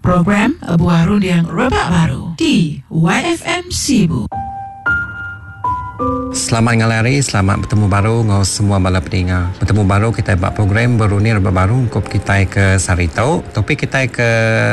Program Buah Runding Rebak Baru di YFM Sibu. Selamat ngalih hari, selamat betemu baru enggau semua bala peninga. Betemu baru kitai ba program Berunding Rebak Baru ungkup kitai ke sehari tu. Topik kitai ke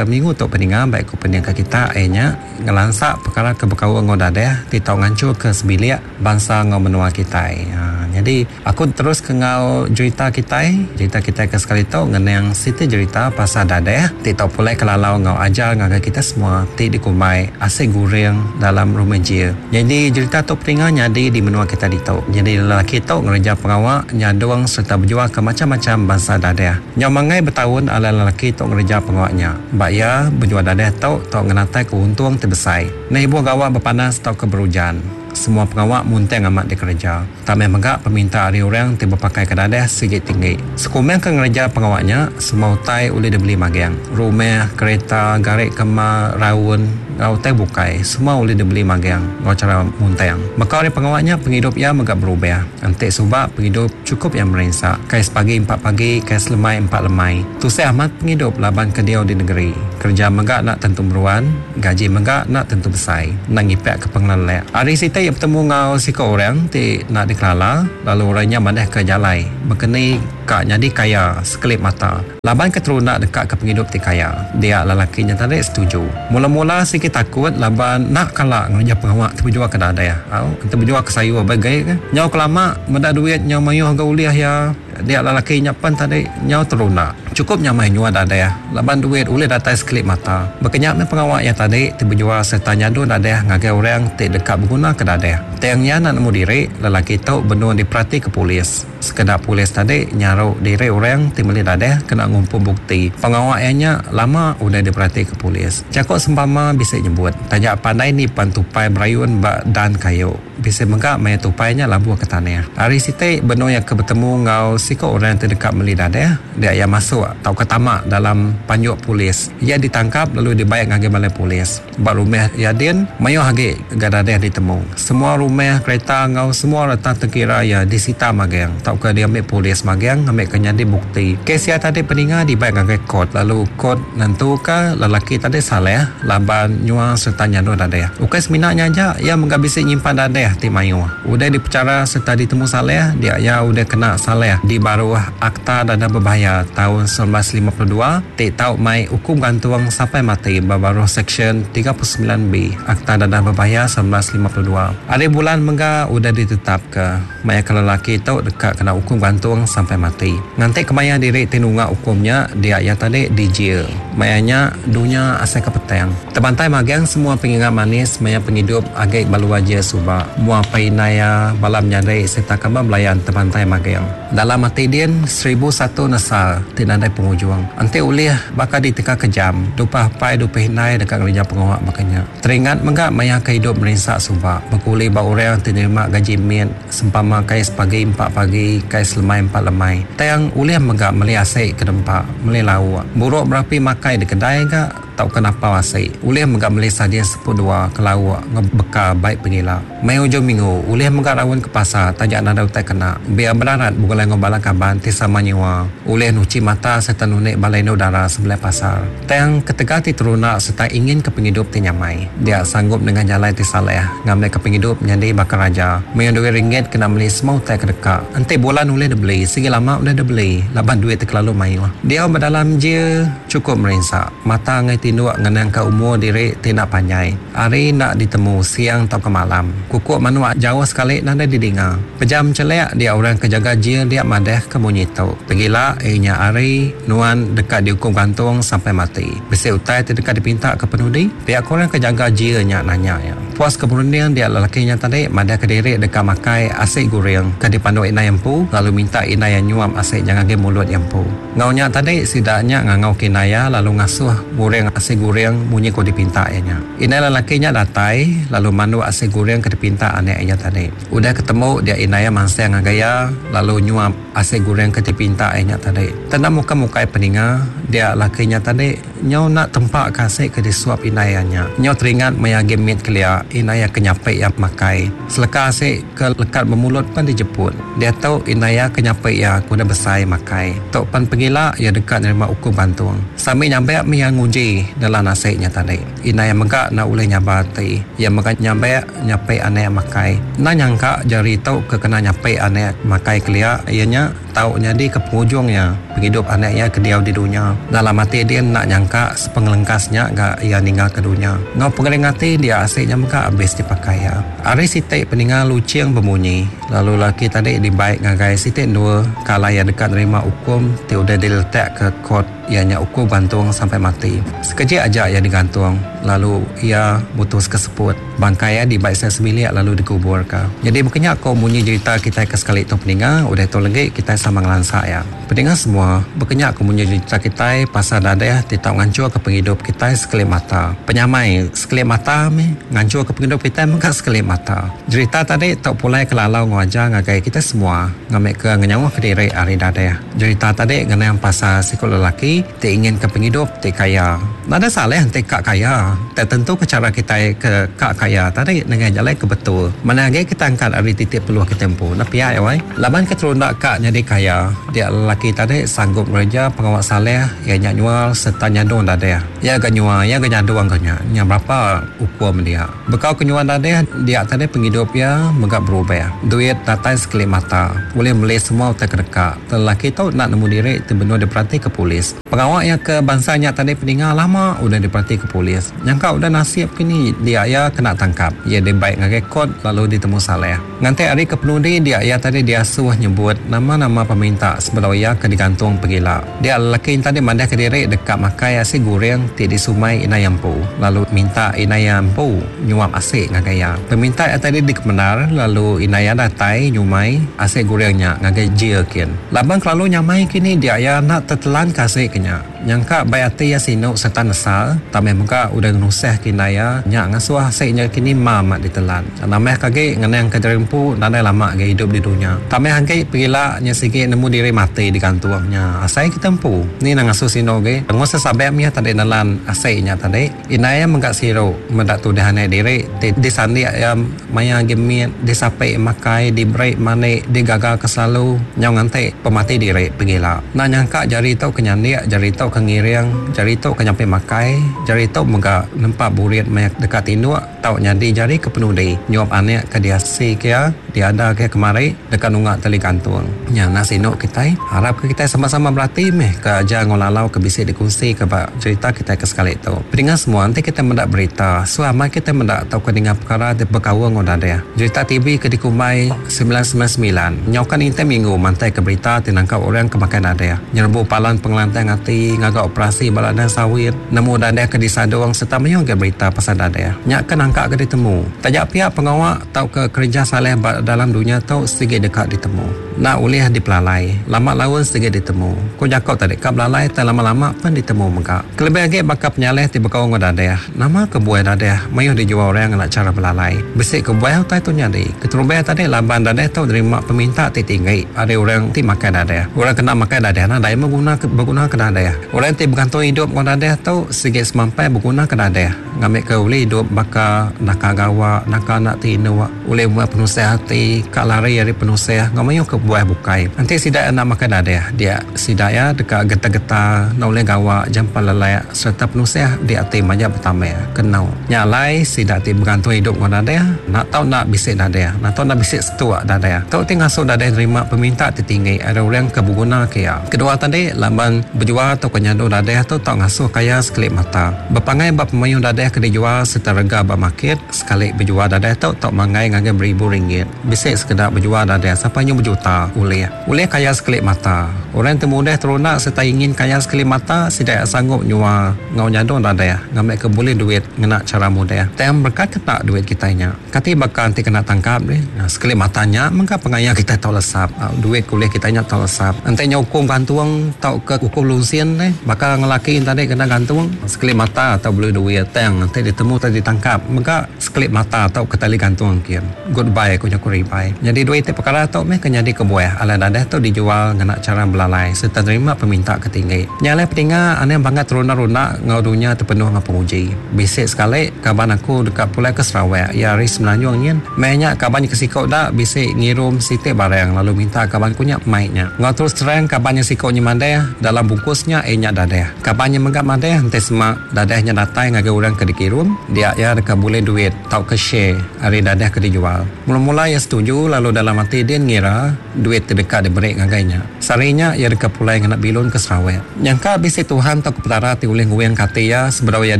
minggu tu peninga baik ku pendingka kita iya nya ngelansa pekara ke bekaul enggau dadah ti tau nganchurka sebilik bansa enggau menua kitai. Nyadi aku terus ke enggau jerita kitai, jerita kitai ke sekali tu ngenang siti jerita pasal dadah ti tau pulai ke lalau enggau ajar ngagai kitai semua ti dikumbai asi guring dalam rumah jil. Nyadi jerita tu peninga nyadi di menua kitai ditu. Nyadi lelaki tu ngereja pengawa nyadung sereta bejualka macham-macham bansa dadah. Nyau manggai betaun alai lelaki tu ngereja pengawa nya. Ba iya, bejual dadah tu tau ngenataika untung ti besai. Enda ibuh gawa bepanas tauka berujan. Semua pengawa muntang amat dikereja. Tang meh mega peminta ari orang ti bepakaika dadah sigi tinggi. Sekumbang ke ngereja pengawa nya, semua utai ulih dibeli magang. Rumah, kereta, gari kema, raun, enggau utai bukai semua ulih dibeli magang enggau chara muntang. Baka ari pengawa nya pengidup iya mega berubah. Enti suba pengidup chukup iya merinsa. Kai sepagi empa pagi, kai selemai empa lemai. Tusah amat pengidup laban ke diau di negeri. Kereja mega enda tentu meruan. Gaji mega enda tentu besai, enda ngipakka pengelelak. Hari siti iya betemu enggau siku orang ti enda dikelala lalu orang nya madahka jalai bekeni ka nyadi kaya sekelip mata. Laban ke terunda deka ke pengidup ti kaya, dia lelaki nya tadi setuju. Mula-mula sigi takut laban enda kala ngereja pengawa ti bejualka dadah. Au, enti bejualka sayur begai ke. Nyau kelama meda duit nyau mayuh ga ulih iya. Dia lelaki nya pen tadi nyau terunda. Chukup nyamai nyua dadah laban duit ulih datai sekelip mata. Baka nya meh pengawa iya tadi ti bejual sereta nyadung dadah ngagai orang ti deka begunaka dadah. Tang iya enda nemu diri, lelaki tu benung diperatika polis. Sekeda polis tadi nyaru diri orang ti meli dadah kena ngumpul bukti. Pengawa iya nya lama udah diperatika polis. Jaku sempama bisi nyebut, taja pandai nipan tupai berayun ba dan kayu. Bisi mega maya tupai nya labuh ke tanah. Hari siti, benung iya ke betemu enggau siku orang ti deka meli dadah, dia iya masuk tauka tama dalam panjuk polis. Iya ditangkap lalu dibai ngagai balai polis. Ba rumah iya din, mayuh agi ga dadah ditemu. Semua rumah, kereta enggau semua reta tengkira iya disita magang tauka diambi polis magang ngambika nyadi bukti. Kes iya tadi peninga dibai ngagai kot lalu kot nentuka lelaki tadi salah laban nyual sereta nyandur dadah. Ukai semina nya aja, iya mega bisi nyimpan dadah ti mayuh. Udah dipechara sereta ditemu salah, dia iya udah kena salah di baruh Akta Dadah Berbahaya taun 1952 ti tau mai ukum gantung sampai mati ba baruh Seksyen 39B Akta Dadah Berbahaya 1952. Hari bulan mega udah ditetapka maya ke lelaki tu deka kena ukum gantung sampai mati. Nganti kemaya diri ti nunga ukum nya, dia iya tadi dijil. Maya nya, dunya asai ke petang. Tebantai magang semua pengingat manis maya pengidup agi ba luar jil suba. Mua apai indai iya, bala menyadi sereta kaban belayan tebantai magang. Dalam ati din, 1001 nesal ti nadai pengujung. Enti ulih, baka diteka ke jam, dupah apai dupih indai deka ngereja pengawa baka nya. Teringat mega maya ke idup merinsa suba, bekuli ba orang ti nerima gaji mit, sempama kai sepagi empa pagi, kai selemai empa lemai. Tang ulih mega meli asi ke dempa, meli lauk. Buruk berapi makai di kedai ga tauka napau asi. Ulih mega meli sardin seput dua ke lauk enggau bekal bai pengila. Maya ujung minggu, ulih mega raun ke pasar taja nadai utai kena. Biar berarat begulai enggau bala kaban ti sama nyiwa, ulih nuchi mata sereta nunik bala indu dara sebelah pasar. Tang, ketegal ti terunda sereta inginka pengidup ti nyamai, dia sanggup nengah jalai ti salah ngambika pengidup nyadi baka raja. Mayuh duit ringgit kena meli semua utai ke deka. Enti bulan ulih dibeli, sigi lama udah dibeli laban duit ti kelalu mayuh. Diau ba dalam jil chukup merinsa. Mata enggai tinduk ngenangka umur diri ti enda panjai. Hari enda ditemu siang tauka malam. Kukuk manuk jauh sekali nadai didinga. Pejam chelek dia orang ke jaga jil dia madahka munyi tu. Pegila iya nya hari nuan deka diukum gantung sampai mati. Bisi utai ti deka dipinta ke penudi? Pia ku orang ke jaga jil nya nanya iya. Puas ke berunding dia lelaki nya tadi madahka diri deka makai asi guring ke dipanduk indai empu lalu minta indai iya nyuap asi nya ngagai mulut iya empu. Enggau nya tadi, sida nya ngangau ke indai iya lalu ngasuh nguring asi guring munyi ku dipinta iya nya. Indai lelaki nya datai lalu manduk asi guring ke dipinta anak iya tadi. Udah ketemu dia indai iya mansang ngagai iya lalu nyuap asi guring ke dipinta iya nya tadi. Tenda mukai-mukai peninga dia laki nya tadi nyau enda tempa ke asi ke disuap indai iya nya. Nyau teringat maya agi mit kelia. indai iya ke nyapi iya makai. Seleka asi ke lekat ba mulut pan dijeput. Diatu indai iya ke nyapi iya ke udah besai makai. Tu pan pegila iya deka nerima ukum gantung. Sambil nyabak mih iya nguji nelan asi nya tadi. Indai iya mega enda ulih nyabar ati. Iya mega nyabak nyapi anak makai. Enda nyangka jari tu ke kena nyapi anak makai kelia iya nya. Tau nyadi ke pengujung iya, pengidup anak iya ke diau di dunya. Dalam ati din enda nyangka sepengelengkas nya ga iya ninggalka dunya. Enggau pengering ati dia asi nya mega abis dipakai iya. Hari siti peninga luching bemunyi, lalu lelaki tadi dibai ngagai siti endur ke alai iya deka nerima ukum ti udah diletakka kot iya nya ukum gantung sampai mati. Sekejik aja iya digantung lalu iya mutuska seput. Bangkai iya dibai sida sebilik lalu dikuburka. Nyadi baka nya ko munyi jerita kitai ke sekali tu peninga, udah tu legi kitai sama ngelansa iya. Peninga semua, baka nya ko munyi jerita kitai pasal dadeh ti tau nganchurka pengidup kitai sekelip mata. Penyamai sekelip mata mih nganchurka pengidup kitai mega sekelip mata. Jerita tadi tau pulai ke lalau enggau ajar ngagai kitai semua ngambika ngenyauhka diri ari dadeh. Jerita tadi ngenang pasal siku lelaki ti inginka pengidup ti kaya. Nadai salah enti ka kaya. Tang tentuka chara kitai ke ka kaya tadi nengah jalai ke betul. Manah agi kitai angkat ari titik peluh kitai empu. Enda pia iya wai. Laban ke terunda ka nyadi kaya, dia lelaki tadi sanggup ngereja pengawa saleh iya nya nyual sereta nyadung dadeh. Iya ga nyual, iya ga nyadung ka nya. Nya berapa ukum dia. Bekau ke nyual dadeh dia tadi pengidup iya mega berubah. Duit datai sekelip mata. Ulih meli semua utai ke deka. Lelaki tu enda nemu diri ti benung diperatika polis. Pengawa iya ke bansa nya tadi peninga lama udah diperatika polis. Nyangka udah nasib kini dia iya kena tangkap. Iya dibai ngagai kot lalu ditemu salah. Nganti hari ke penudi dia iya tadi diasuh nyebut nama-nama peminta sebedau iya ke digantung pegila. Dia lelaki nya tadi madahka diri deka makai asi guring ti disumai indai iya empu lalu minta indai iya empu nyuap asi ngagai iya. Peminta iya tadi dikemendar lalu indai iya datai nyumai asi guring nya ngagai jil kin. Laban kelalu nyamai kini dia iya enda tetelan ke asi ke nya. Nyangka bai ati iya sinu sereta nesal, tang meh mega udah ngenusah ke indai iya nya ngasuh asi nya kini ma amat ditelan. Nambah ke agi ngenang ke diri empu nadai lama agi idup di dunya. Tambah agi pegila nya sigi nemu diri mati digantung nya asai kita empu. Ni nang ngasuh sinu agi. Ngusah sabek mih tadi nelan asi nya tadi. Indai iya mega siru meda tudah anak diri ti disandik iya maya agi mit, disapi makai, diberi mandi, digagaka selalu nyau nganti pemati diri pegila. Enda nyangka jari tu ke nyandik, jari tu ke ngiring, jari tu ke nyapi makai, jari tu mega nempa burit maya deka tinduk tau nyadi jari ke penudi nyuap anak ke diasika iya. Diada ke kemari deka nunga tali gantung. Nya enda sinu kitai. Arap ke kitai sama-sama berati meh ke ajar enggau lalau ke bisi dikunsi ke ba cherita kitai ke sekali tu. Peninga semua enti kitai meda berita, suah amai kitai meda tauka ninga pekara ti bekaul enggau dadeh. Jerita TV ke dikumbai 999 nyauka ninting minggu mantai ke berita ti nangkap orang ke makai dadeh, nyerbu palan pengelantang ati, ngaga operasi ba ladang sawit, nemu dadeh ke disadung sereta mayuh agi berita pasal dadeh. Nya ke nangka ke ditemu. Taja pia pengawa. Tauka kereja saleh ba dalam dunya tu sigi deka ditemu. Enda ulih dipelalai. Lama laun sigi ditemu. Ku jaku tadi ka belalai tai lama-lama pen ditemu mega. Kelebih agi baka penyalih ti bekaul enggau dadeh. Nama kebuah dadeh mayuh dijual orang ngena chara belalai? Bisi kebuah utai tu nyadi. Keterubah tadi laban dadeh tu nerima peminta ti tinggi ari orang ti makai dadeh. Orang kena makai dadeh nadai meh beguna ke dadeh. Orang ti begantung idup enggau dadeh tu sigi semampai beguna ke dadeh. Ngambika ulih idup baka naka gawa, naka enda tinduk, ulih muai penusah ati, ka lari ari penusah enggau mayuh ke buah bukai. Enti sida enda makai dadih, dia sida iya deka getar-getar, enda ulih gawa, jampat lelak sereta penusah di ati majak betambah ke enu. Nya alai sida ti begantung idup enggau dadih, enda tau enda bisi dadih, enda tau enda bisi setuk dadih. Tu ti ngasuh dadih nerima peminta ti tinggi ari orang ke begunaka iya. Kedua tadi, laban bejual tauka nyadu dadih tu tau ngasuh kaya sekelip mata. Bepangai ba pemayuh dadah ke dijual sereta rega ba market, sekali bejual dadah tu tau manggai ngagai beribu ringgit. Bisi sekeda bejual dadah sampai nyu bejuta ulih. Ulih kaya sekeli mata. Orang ti mudah terunda sereta ingin kaya sekeli mata sida iya sanggup nyual enggau nyadung dadah ngambika bulih duit ngena chara mudah. Tang berekat ke tak duit kitai nya. Kati baka enti kena tangkap deh. Sekeli mata nya mega pengaya kitai tau lesap. Duit ke ulih kitai nya tau lesap. Enti nya ukum gantung tauka ukum lunsin deh baka ngelaki enti tadi kena gantung sekeli mata tau bulih duit tang enti ditemu tau ditangkap mega sekeli mata tau ke tali gantung kin. Goodbye ku jaku ribai. Nyadi duit ti pekara tu meh ke nyadi kebuah alai dadah tu dijual ngena chara belalai. belalai sereta nerima peminta ke tinggi. Nya alai peninga anang bangat terunda-runda enggau dunya ti penuh enggau penguji. Bisi sekali kaban aku deka pulai ke Sarawak iya ari Semenanjung nyin. Meh nya kaban ke siko da bisi ngirum siti barang lalu minta kaban ku nya mai nya. Enggau terus terang kaban nya siko nya madah dalam bungkus nya iya nya dadah. Kaban nya mega madah enti sema dadah nya datai ngagai orang ke dikirum dia iya deka bulih duit tauka share ari dadah ke dijual. Mula-mula iya setuju lalu dalam ati din ngira duit ti deka diberi ngagai nya. Sehari nya iya deka pulai ngena bilun ke Sarawak. Nyangka bisi Tuhan tauka Petara ti ulih nguingka ati iya sebedau iya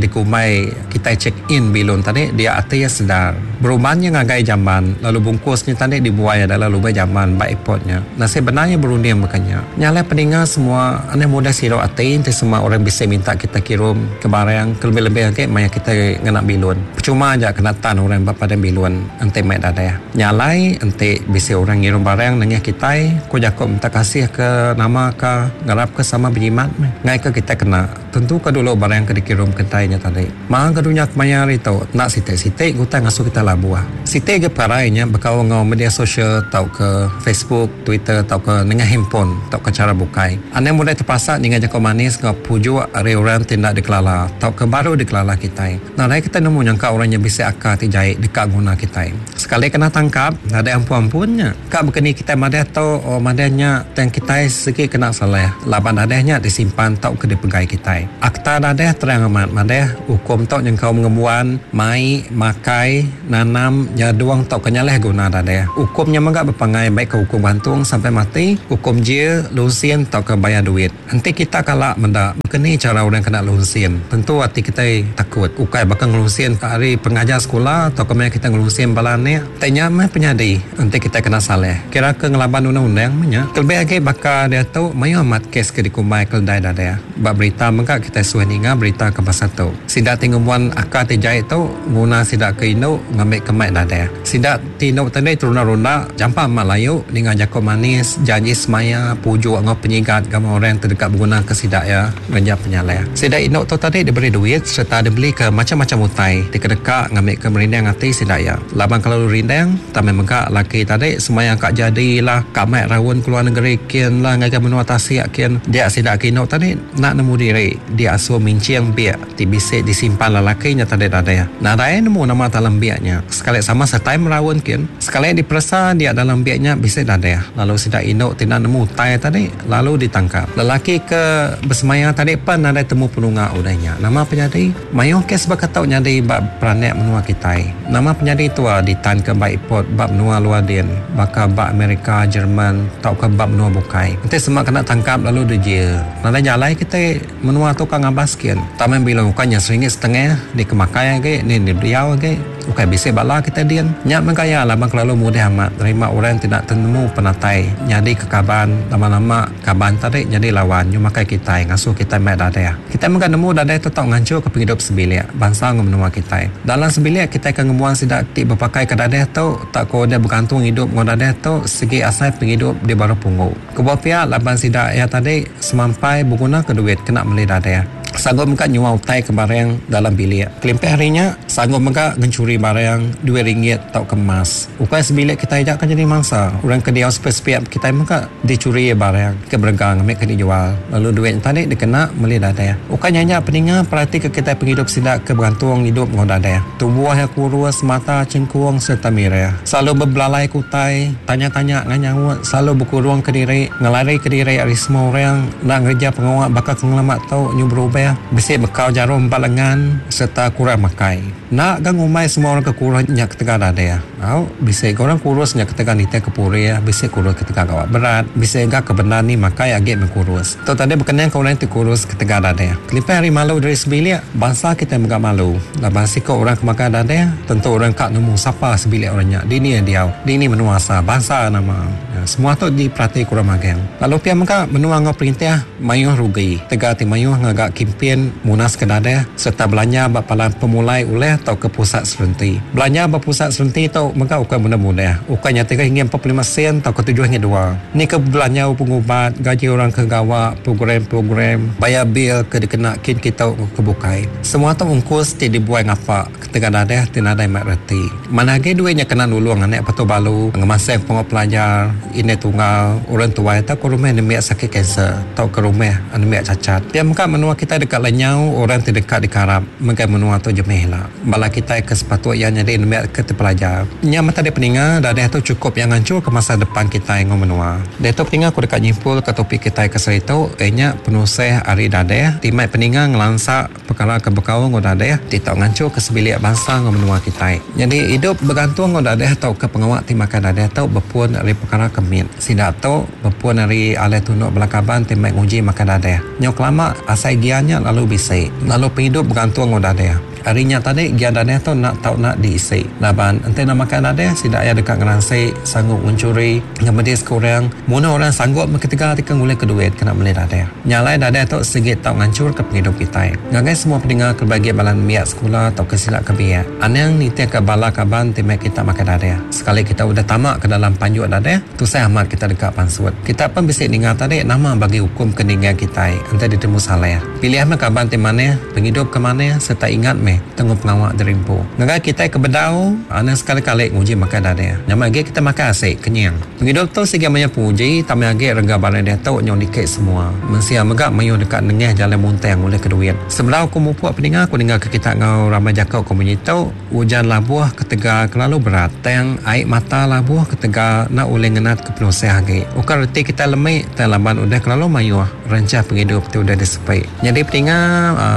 dikumbai kitai check in bilun tadi dia ati iya sedar. Berumban iya ngagai jamban lalu bungkus nya tadi dibuai iya dalam lubang jamban ba airport nya. Nasib bendar iya berunding baka nya. Nya alai peninga semua aneh mudah sirau ati enti sema orang bisi minta kitai kirum ke barang kelebih-lebih agi maya kitai ngena bilun. Pechuma aja kena tan orang ba padang bilun enti mai dadah. Nya alai enti bisi orang ngirum barang nengah kitai, ku jaku minta kasih ke nama ka ngarapka sama bejimat meh. Ngaika kitai kena, tentuka dulu barang ke dikirum kitai nya tadi. Maha ke dunya kemaya hari tu enda siti-siti ke utai ngasuh kitai labuh. Siti ga pekarai nya bekaul enggau media sosial tauka Facebook, Twitter tauka nengah handphone tauka chara bukai. Anang mudah tepasa ninga jaku manis enggau pujuk ari orang ti enda dikelala tauka baru dikelala kitai. Nadai kitai nemu nyangka orang nya bisi akal ti jai deka nguna kitai. Sekali kena tangkap, nadai ampun-ampun nya. Ka bekeni kitai madah tu o madah nya tang kitai sigi kena salah laban dadah nya disimpan tauka dipegai kitai. Akta dadah terang amat madah ukum tu nyengkaum ngembuan, mai, makai, nanam, nyadung tauka nyalah guna dadah. Ukum nya mega bepangai baikka ukum gantung sampai mati, ukum jil, lunsin tauka bayar duit. Enti kita kala meda baka ni chara orang kena lunsin, tentu ati kitai takut. Ukai baka ngelunsin ka ari pengajar sekula tauka maya kitai ngelunsin bala anak. Tai nya meh penyadi enti kitai kena salah. Kira ke ngelaban undang-undang meh nya. Kelebih agi baka diatu mayuh amat kes ke dikumbai keledai dadah. Ba berita mega kitai suah ninga berita ke pasal tu. Sida ti ngembuan akal ti jai tu nguna sida ke indu ngambika mai dadah. Sida. Ti indu tadi terunda-runda, jampat amat layu ninga jaku manis, janji semaya, pujuk enggau penyigat gamal orang ti deka begunaka sida iya ngereja penyalah. Sida indu tu tadi diberi duit sereta dibelika macham-macham utai ti kedeka ngambika merindang ati sida iya. Laban kelalu rindang, tang meh mega laki tadi semaya ka jadi lah, ka mai raun keluar negeri kin lah ngagai menua tasik kin. Dia sida ke indu tadi enda nemu diri diasuh minching bik. Ti bisi disimpan lelaki nya tadi dadah. Nadai nemu nama dalam biak nya. Sekali sama sertai meraun kin. Sekali diperesa dia dalam biak nya bisi dadah. Lalu sida indu ti enda nemu utai tadi lalu ditangkap. Lelaki ke besemaya tadi pen nadai temu penunga udah nya. Nama penyadi? Mayuh kes baka tu nyadi ba peranak menua kitai. Nama penyadi tua ditanka ba ipot ba menua luar din baka ba Amerika, Jerman tauka ba menua bukai. Enti sema kena tangkap lalu dijil. Nadai jalai kitai. Menua tu ka ngabas kin. Taman bila ukai nya seringgit setengah dikemakai agi ni diau agi ukai bisi bala kitai din. Nya meh gaya laban kelalu mudah amat nerima orang ti enda tenemu penatai nyadi ke kaban lama-lama kaban tadi nyadi lawan nyu makai kitai ngasuh kitai mai dadah. Kitai mega nemu dadah tu tau nganchurka pengidup sebilik bansa enggau menua kitai. Dalam sebilik kitai ke ngembuan sida ti bepakai ke dadah tu tauka udah begantung idup enggau dadah tu sigi asai pengidup di baruh punggu. Kebuah pia laban sida iya tadi semampai begunaka duit kena meli dadah. Sanggup mega nyual utai ke barang dalam bilik. Kelimpah ari nya, sanggup mega ngenchuri barang duit ringgit tauka emas. Ukai sebilik kitai aja ke nyadi mangsa. Orang ke diau sepik-sepik kitai mega dichuri barang ke berega ngambika dijual lalu duit nya tadi dikena meli dadah. Ukai nya aja peninga peratika kitai pengidup sida ke begantung idup enggau dadah. Tubuh iya kurus, mata chengkung sereta mirah. Selalu bebelalai ke utai, tanya-tanya enggau nyaut, selalu bekurung kediri, ngelari kediri ari semua orang, enda ngereja pengawa baka ke ngelama tu nyu berubah, bisi bekau jarum ba lengan sereta kurang makai. Enda ga ngumbai semua orang ke kurus nya ketegal dadah. Au, bisi ga orang kurus nya ketegal nitih ke purih, bisi kurus ketegal gawa berat, bisi ga ke bendar ni makai agi meh kurus. Tu tadi bekenang ke orang ti kurus ketegal dadah. Kelimpah ari malu diri sebilik, bansa kitai mega malu. Laban siku orang ke makai dadah, tentu orang ka nemu sapa sebilik orang nya, dini iya diau, dini menua asal, bansa nama. Semua tu diperati ku orang magang. Lalu pia mega menua enggau perintah mayuh rugi tegal ti mayuh ngaga kimpin. kimpin munaska dadah sereta belanja ba palan pemulai ulih tauka pusat serenti. Belanja ba pusat serenti tu mega ukai mudah-mudah. Ukai nya 3 hingga 45 sen tauka 7 hingga 2. Ni ke belanja pengubat, gaji orang ke gawa, program-program, bayar bil ke dikena kin kitu ke bukai. Semua tu ungkus ti dibuai ngapa ketegal dadah ti nadai mai reti. Manah agi duit nya kena nulung anak patu balu, ngemasang pengawa pelajar, indai tunggal, orang tuai tauka rumah nembiak sakit kanser tauka rumah nembiak cacat. Pia mega menua kitai deka lenyau orang ti deka dikarap megai menua tu jemih ila. Bala kitai ke sepatut iya nyadi nembiak ke tepelajar. Nya meh tadi peninga dadah tu chukup iya nganchurka masa depan kitai enggau menua. Diatu peninga aku deka nyimpulka topik kitai ke sehari tu iya nya penusah ari dadah ti mai peninga ngelansa Pekara ke bekaul enggau dadeh ti tau nganchurka sebilik bansa enggau menua kitai. Nyadi idup begantung enggau dadeh tauka pengawa ti makai dadeh tu bepun ari pekara ke mit. Sida tu bepun ari alai tunduk bala kaban ti mai nguji makai dadeh. Nyau kelama asai gian nya lalu bisi. Lalu pengidup begantung enggau dadeh. Ari nya tadi gian dadeh tu enda tau enda diisi. Laban enti enda makai dadeh sida iya deka ngeransi, sanggup ngenchuri, ngemediska orang. Munuh orang sanggup meh ketegal ti ke ngulihka duit kena meli dadeh. Nya alai dadah tu sigi tau nganchurka pengidup kitai. Ngagai semua peninga ke bagi bala nembiak sekula tauka sida ke biak, anang nitihka bala kaban ti meh kita makai dadah. Sekali kita udah tama ke dalam panjuk dadah, tusah amat kita deka pansut. Kita pen bisi ninga tadi nama bagi ukum ke ninggang kitai enti ditemu salah. Pilih meh kaban ti manah, pengidup ke manah sereta ingat meh tenggu pengawa diri empu. Ngagai kitai ke bedau, anang sekali-kali nguji makai dadah. Nyamai agi kita makai asi, kenyang. Pengidup tu sigi mayuh penguji tang meh agi rega barang diatu nyau niki semua. Mensia mega mayuh deka nengah jalai muntang ngulihka duit. Sebedau aku mupuk peninga aku ninggalka kita enggau rambai jaku ke munyi tu, ujan labuh ketegal kelalu berat tang ai mata labuh ketegal enda ulih ngenatka penusah agi. Ukai reti kitai lemi tang laban udah kelalu mayuh rencah pengidup ti udah disepi. Nyadi peninga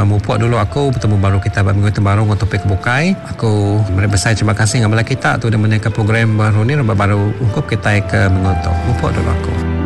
mupuk dulu aku betemu baru kita ba minggu tu baru enggau topik ke bukai. Aku meri besai terima kasih ngagai bala kita ti udah menyediaka program baru ni rebak baru ungkup kitai ke minggu tu. Mupuk dulu aku.